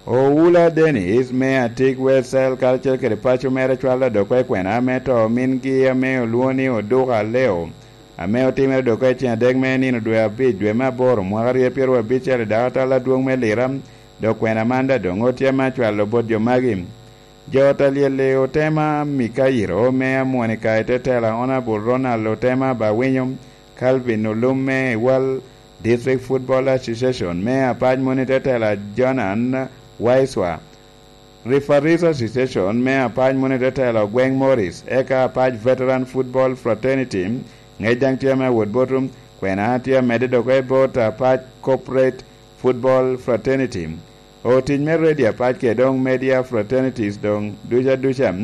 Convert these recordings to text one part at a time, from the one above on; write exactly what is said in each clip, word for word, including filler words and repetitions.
Owula Dennis me Atik Wesel karacel kede paco mere cwalo dok oko i kwena me to mingi ame olwoŋo ni Oduka Leo, ame otimere dok oko i ceng adek me nino dwe abic dwe me aboro mwaka aryo pyeraryo abicel i dako atal adwoŋ me Lira, dok kwena man daŋ doŋ otye ame acwalo bot jo magi. Jo ta lyel i otema Mikairo me Amwonika i te tela Honourable Ronald Otema Bawinyo, Calvin Olum me Iwal District Football Association me apac moni te tela Jonan Waiswa, Referees Association me apac moni te tela Ogweng Morris, eka apac Veteran Football Fraternity, ŋec daŋ tye me awot botum, kwena tye amedde dok i bot apac Corporate Football Fraternity. Otic me radio apac kede doŋ media fraternities doŋ duca duca,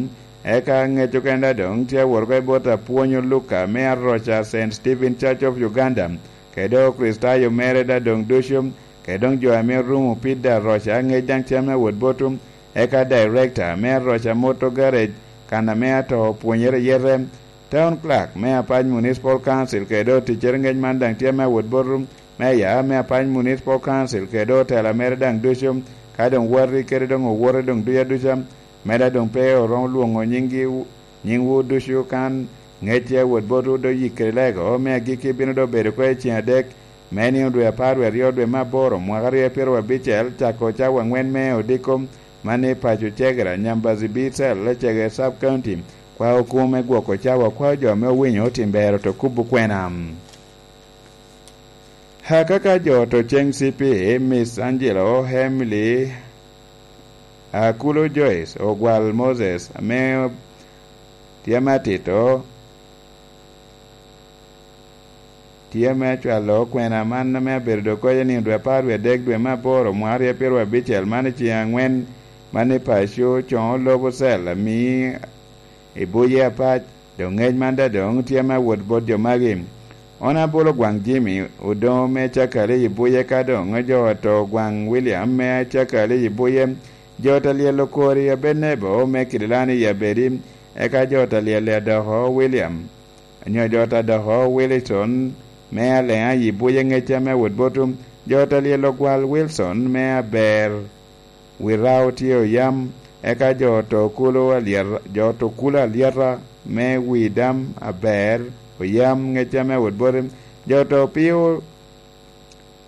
eka ŋec okenda doŋ tye awot oko i bot apwony Oluka me Aroca Saint Stephen Church of Uganda, kede doŋ Okricitayo mere da doŋ ducu, kede doŋ jo ame orumo pida Aroca ŋec daŋ tye me awot botum, eka Director me Aroca Motor Garage kan ame ato opwonyere yete, Town Clerk me apac Municipal Council kede doŋ oticcere ŋec man daŋ tye me awot botum, Meya me apac Municipal Council kede otela mere daŋ ducu, ka doŋ wati kede doŋ owote doŋ duca duca, meda doŋ pe oromo lwoŋo nyiŋgi, nyiŋwu ducu kan ŋec tye awot botwu doŋ yik kede lego me agikki bino doŋ bedo oko i ceng adek me nino dwe apar wie aryo dwe me aboro mwaka aryo pyeraryo abicel cako cawa aŋwen me odiko man i paco Cegera, Nyambazi B Cell, Cegera Sub County, kwao kumo me gwoko cawa kwao jo ame owinyo otim bero to kubo kwena. Akaka jo to ceŋ C P, Miss Angelo Emily Akulo Joyce Ogwal Moses ame tye ame atito, tye ame acwalo kwena man ame abedo doŋ koc i nino dwe apar wie adek dwe me aboro mwaka aryo pyeraryo abicel man i ceŋ aŋwen man i paco coŋo lobo cel ami i buye apac. Doŋ ŋec man daŋ doŋ tye me awot bot jo magi. Honourable Ogwaŋ Jimmy Odoŋo me Cakali i Buye ka doŋ jo to Ogwaŋ William me Cakali i Buye, jo ta lyel Okori Abednego me Kidilani i Abedi, eka jo ta lyel Adoko William, onyo jo ta Adoko Wilson me Aleŋa i Buye ŋecca me awot botu, jo ta lyel Ogwal Wilson me Aber Wirao tye oyam, eka jo to kulo alyeta, jo to kulo alyeta me wi dam aber oyam ŋecca me awot bote, jo to pio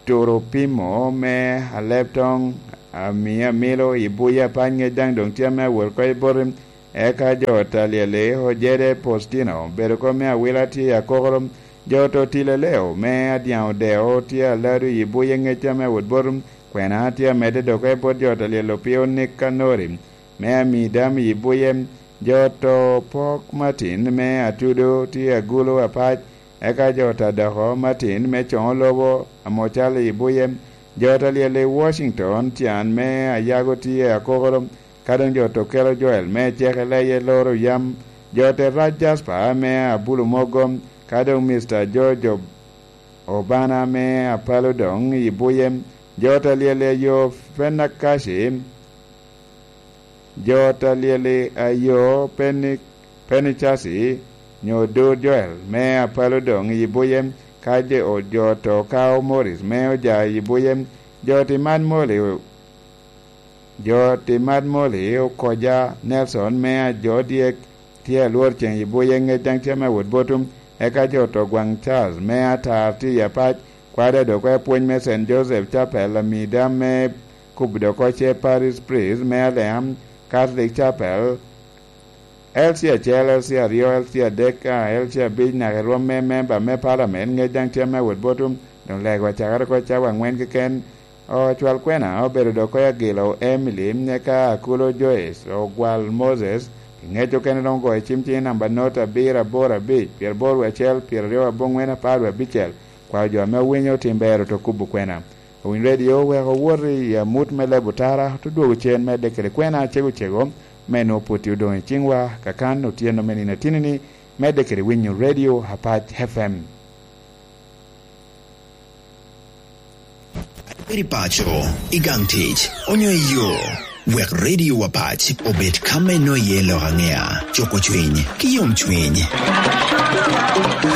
turo pimo me aleb toŋ ami amilo i buye apany ŋec daŋ doŋ tye me awot oko i bote, eka jo ta lyeli Ojede Postino bedo kom me awila tye i akokoro, jo to tilo leo me adyaŋ odeo tye alado i buye ŋecca me awot bote, Kwena tye amedde doke bot jo ta lyel opio Nikanori, me ami dam i buye, jo to pok Martin me Atudo tye agulu apac, eka jo ta doko Martin me coŋo lobo Amocal i buye, jo ta lyel i Washington can me Ayago tye akokoro, ka doŋ jo to kelo Joel me ceke leye loro yam, jo te rac Jasper me Abulu Mogo, ka doŋ Mister George Obana me Apalo doŋ i buye, jo ta lyel i ayo Penakaci, jo ta lyel i ayo Peni-, Penicasi, nyo Dur Joel me Apalo doŋ i buye, ka jo, jo to kao Morris me oja i buye, jo ti man moli Jo ti mad moli Okoja Nelson me ajo dyek tye alwor ceŋ i buye ŋec daŋ tye me wot botum, eka jo to gwaŋ Charles me atar tye i apac, kwade dok apwony me Saint Joseph Chapel, amida me Kubdo Koce Parish Priest me Aleam Catholic Chapel, L C acel, L C aryo, L C adek, a, L C abic, naka i rwom me memba me palamen, ŋec daŋ tye me wot botum, doŋ lego acakere oko cawa aŋwen keken. Ocwal kwena obedo dok koyo agilo Emily, eka Akulo Joyce, Ogwal Moses, pi ŋec okene doŋ ogoyo cim cing namba not abiro aboro abic, pyeraboro wie acel, pyeraryo aboŋwen, apar wie abicel. Kwao jo ame owinyo otim ber oto kubo kwena. Owiny redio wek owot i amut me leb otara, ote dwogo cen medde kede kwena cego cego, me nwoŋo pwoti odoŋ i ciŋwa, kakan otyeno me nino atinini, medde kede winyo redio Apac F M. Eri paco, i gang tic, onyo i yo, wek redio Apac obed ka me noye lok aŋea, cuko cwiny, ki yom cwiny.